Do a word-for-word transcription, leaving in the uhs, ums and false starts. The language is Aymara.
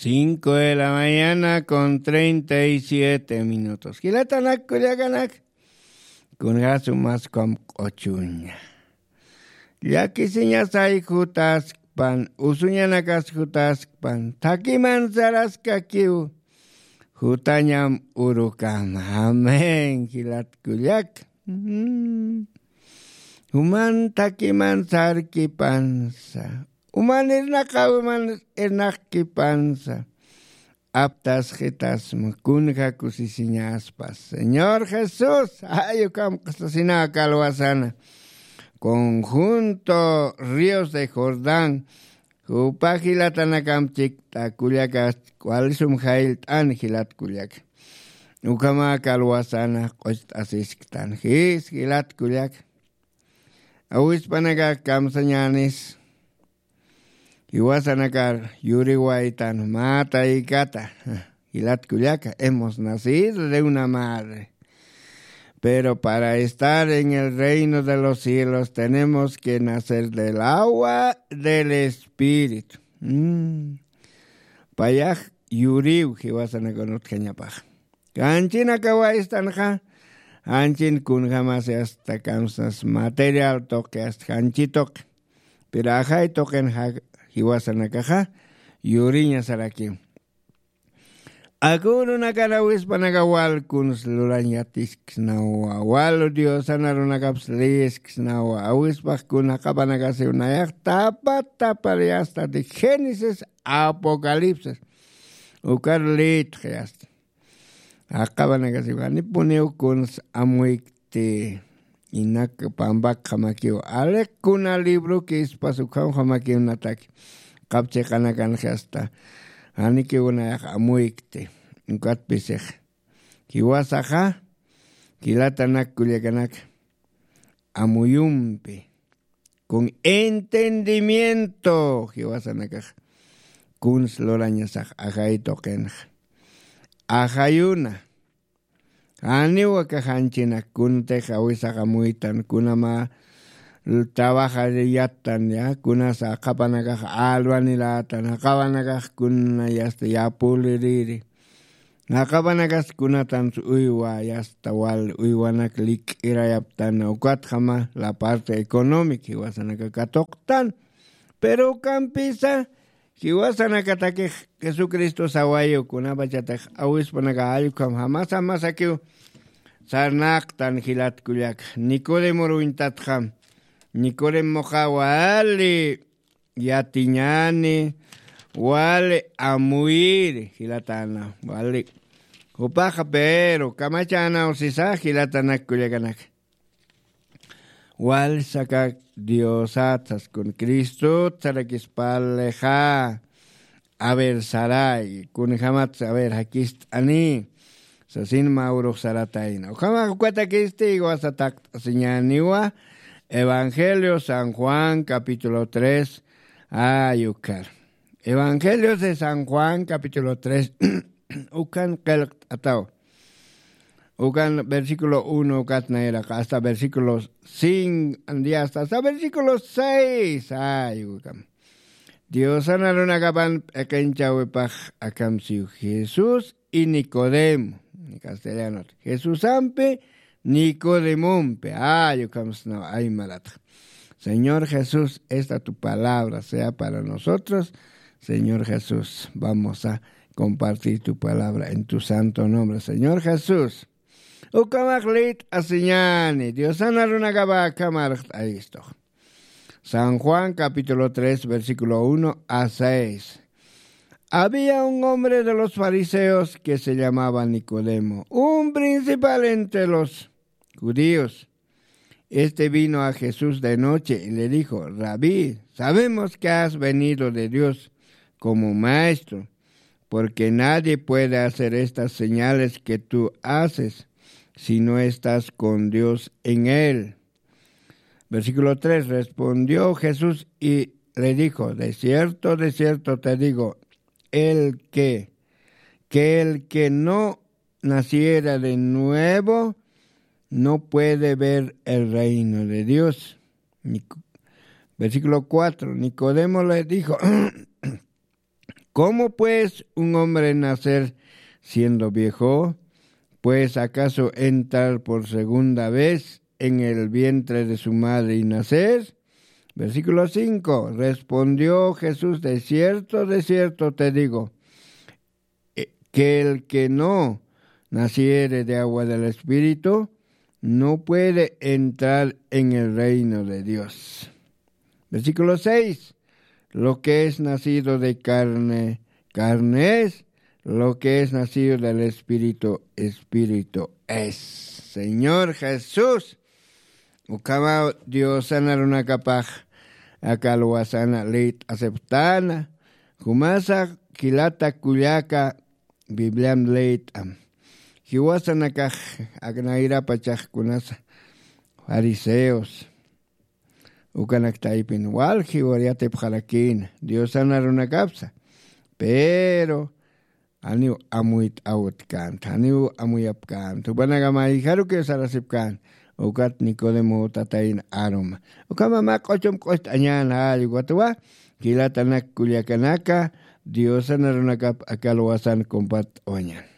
Cinco de la mañana con treinta y siete minutos. Jilatanak kullakanak, kunjasu maskwam q'ochuña. Llakisiñasay jutaskpan, usuñanakas jutaskpan, thakiman saraskakiw, jutañam urukama. Amén, jilat kullak. Mm. Juman thakiman sarkipansa, uman irnaqawiman irnaqkipansa, aptasxitasma kunja kusisiñaspas. Señor Jesús, ay, ukham q'usasinaka alwasana. Conjunto Ríos de Jordán, jupa jilatanakamp chikt'a kullaka, walisum jayllt'an jilat kullaka. Ukhamaka alwasana q'ucht'asisktan. Jis, jilat kullaka. Awispanaka kamsañänis. Jiwasanakar yuriwaytan mä taykata. Jilat kullaka, hemos nacido de una madre. Pero para estar en el reino de los cielos tenemos que nacer del agua del espíritu. Mm. Payax yuriw jiwasanakan utjañapax. Qanchinakawaystanxa, qanchin kunjamasi hasta kamsas material tuqi, hasta janchi tuqi. Pero ajay tuqin ja-, jiwasanakaxa yuriña sarakiw. Akürunakan awispanaka wal kuns lurañ yatisksnawa, wal Diosan arunakaps liyisksnawa, awispax kun jaqapanakasiw nayax tapa tapar yasta de Génesis Apocalipsis. Ukar liytx yasta. Jaqapanakasiw janipuniw kuns amuykti. Inak pampakjamakiw aliq kuna libroki ispas ukhamjamakiw nataki. Qap chiqanakanxi hasta janikiw nayax amuykti. Ukatpisix jiwasaxa jilatanak kullakanak amuyumpi con entendimiento jiwasanakax kuns lurañasax ajay tuqinxa. Ajayuna. Janiw aka janchinak kuntix awisax amuytan, kunama trabajar yattan, ya, kunasa jaqapanakax albanilatan, jaqapanakax kuna yasta yapuliriri. Jaqapanakas kunatans uywa, yasta wal uywanak lik'irayaptan, ukatjama la parte económica, jiwasanaka katuqtan. Pero ukampisa, jiwasanakatakix Jesucristo sawayu, kunapachatix awispanaka jallkham jamasa jamasakiw sarnaqtan jilat kullak. Nicodemor uñtatxam. Nicodemoxa wali yatiñani, wali amuyiri jilatana, wali. Jupaxa pero kamachanaw sisa jilatanak kullakanak. Wal sakak Diosat saskun, Cristot sarakispalixa. A ver, saray, kunjamat, a ver, jakist'ani. Sasin mä urux saratayna. Ukhamax ukatakistï jiwasa taqt'asiñäniwa. Evangelio San Juan, capítulo tres, ay, ukhar. Evangelio de San Juan, capítulo tres, ukan qillqt'ataw. Ukan versículo uno ukat nayraq hasta versículo cinco, hasta, hasta versículo seis. Ay, ukam. Diosan arunakapan p'iqinchäwipax akham siw Jesús y Nicodemo. Castellanot. Jesusampi Nicodemompi. Ay, ukham sna aymaratxa. Señor Jesús, esta tu palabra sea para nosotros. Señor Jesús, vamos a compartir tu palabra en tu santo nombre. Señor Jesús, ukhamax liyt'asiñäni, Diosan arunakapa akham arxt'ayistux. San Juan capítulo tres, versículo uno a seis. Había un hombre de los fariseos que se llamaba Nicodemo, un principal entre los judíos. Este vino a Jesús de noche y le dijo: "Rabí, sabemos que has venido de Dios como maestro, porque nadie puede hacer estas señales que tú haces si no estás con Dios en él". Versículo tres, respondió Jesús y le dijo: "De cierto, de cierto te digo, el que, que el que no naciera de nuevo no puede ver el reino de Dios". Nico-, versículo cuatro, Nicodemo le dijo: ¿Cómo pues un hombre nacer siendo viejo? ¿Pues acaso entrar por segunda vez en el vientre de su madre y nacer? Versículo cinco. Respondió Jesús: De cierto, de cierto te digo, eh, que el que no naciere de agua del Espíritu no puede entrar en el reino de Dios. Versículo seis. Lo que es nacido de carne, carne es. Lo que es nacido del Espíritu, Espíritu es. Señor Jesús, ukhamaw Diosana runakapax aka alwasana leyt'asipxtana. Jumasa jilata kullaka Bibliam leyt'am. Jiwasanakax aknayrapachax kunasa fariseos ukanak taypin wal jiwar yatipxarakïna Diosana runakapsa. Pero janiw amuyt'awtkänta, janiw amuyapkänta. Jupanaka mayjarukiw sarasipkänta. Ukat Nicodemo tatayna aruma. Ukhama mä q'uchum q'ucht'añän jall ukatwa jilatanak kullakanaka Diosana runakap aka alwasan compart'awañän.